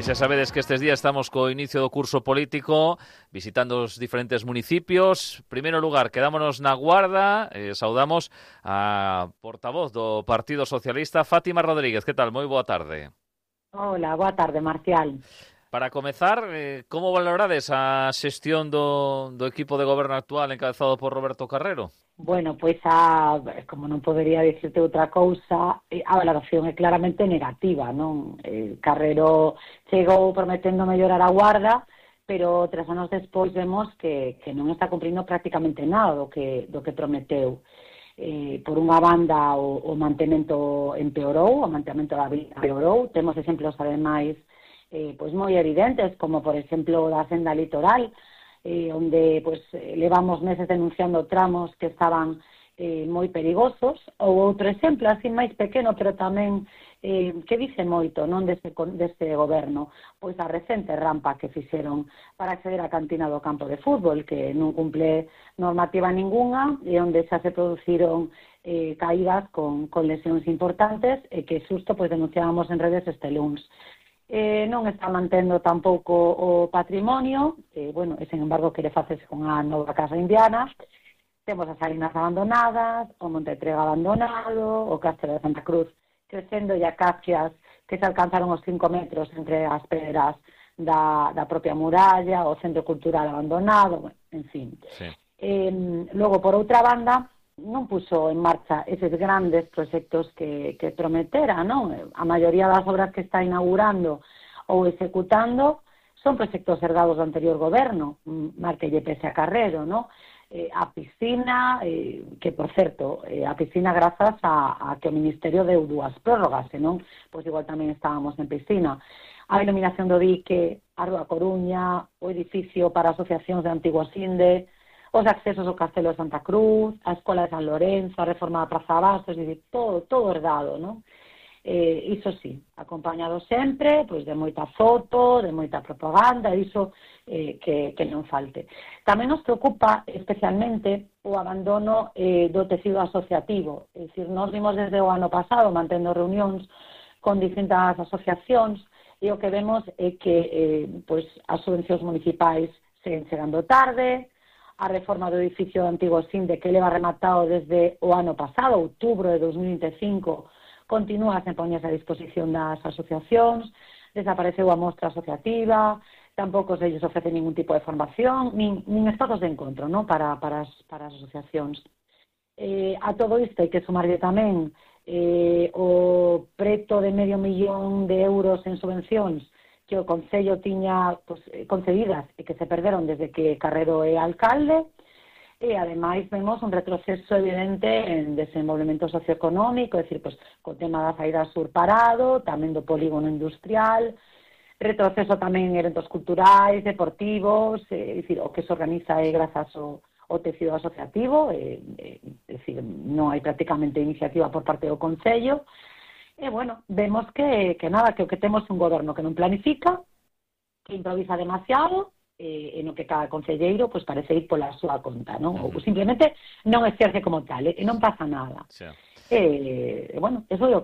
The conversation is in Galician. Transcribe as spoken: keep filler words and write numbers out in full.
xa sabedes que estes días estamos co inicio do curso político, visitando os diferentes municipios. Primeiro lugar, quedámonos na Guarda, eh, saudamos a portavoz do Partido Socialista, Fátima Rodríguez. Que tal? Moi boa tarde. Hola, boa tarde, Marcial. Para comezar, eh, como valorades a xestión do, do equipo de goberno actual encabezado por Roberto Carrero? Bueno, pois a, como non podería dicirte outra cousa, a valoración é claramente negativa, non? Eh, Carrero chegou prometendo mellorar a Guarda, pero tres anos despois vemos que, que non está cumprindo prácticamente nada do que, do que prometeu. Eh, por unha banda o, o mantemento empeorou, o mantemento da vida empeorou, temos exemplos ademais eh, pois moi evidentes, como por exemplo da senda litoral, eh, onde pues, levamos meses denunciando tramos que estaban eh, moi perigosos, ou outro exemplo, así máis pequeno, pero tamén eh, que dice moito non deste, deste goberno, pois a recente rampa que fixeron para acceder á cantina do campo de fútbol, que non cumple normativa ningunha, e onde xa se produciron eh, caídas con, con lesións importantes, e que xusto pois, denunciábamos en redes este luns. Eh, non está mantendo tampouco o patrimonio, eh, bueno, e, sen embargo, quere facerse con a nova casa indiana. Temos as salinas abandonadas, o Monte Trega abandonado, o Castro de Santa Cruz crecendo e acacias que se alcanzaron os cinco metros entre as pedras da, da propia muralla, o Centro Cultural abandonado, bueno, en fin. Sí. Eh, logo, por outra banda, non puso en marcha eses grandes proxectos que, que prometera, non? A maioría das obras que está inaugurando ou executando son proxectos herdados do anterior goberno, marquelle pese a Carrero, non? Eh, a piscina, eh, que, por certo, eh, a piscina grazas a, a que o Ministerio deu dúas prórrogas, senón, pois igual tamén estábamos en piscina. A iluminación do dique, a Rúa Coruña, o edificio para asociacións de Antigua Sinde, os accesos ao Castelo de Santa Cruz, a Escola de San Lorenzo, a reforma da Praza Bastos, é dicir, todo, todo herdado, non? Eh, iso sí, acompañado sempre, pois de moita foto, de moita propaganda, iso eh, que, que non falte. Tamén nos preocupa especialmente o abandono eh, do tecido asociativo, é dicir, nós vimos desde o ano pasado mantendo reunións con distintas asociacións, e o que vemos é que eh, pois, as subvencións municipais seguen chegando tarde, a reforma do edificio do Antigo Sinde, que leva rematado desde o ano pasado, outubro de dos mil vinte e cinco, continúa sen poñerse a disposición das asociacións, desapareceu a mostra asociativa, tampouco se lles ofrece ningún tipo de formación, nin, nin espazos de encontro, ¿no? para, para, as, para as asociacións. Eh, a todo isto hai que sumarlle tamén eh, o preto de medio millón de euros en subvencións que o Concello tiña pues, concedidas e que se perderon desde que Carrero é alcalde, e ademais vemos un retroceso evidente en desenvolvemento socioeconómico, é dicir, pues, co tema da saída sur parado, tamén do polígono industrial, retroceso tamén en eventos culturais, deportivos, é dicir, o que se organiza é grazas ao, ao tecido asociativo, é, é, é dicir, non hai prácticamente iniciativa por parte do Concello. E, bueno, vemos que, que nada, que o que temos un goberno que non planifica, que improvisa demasiado, e, e no que cada concelleiro pues, parece ir pola súa conta, non? Ou simplemente non exerce como tal, e non pasa nada. Sí. E, bueno, eso é o que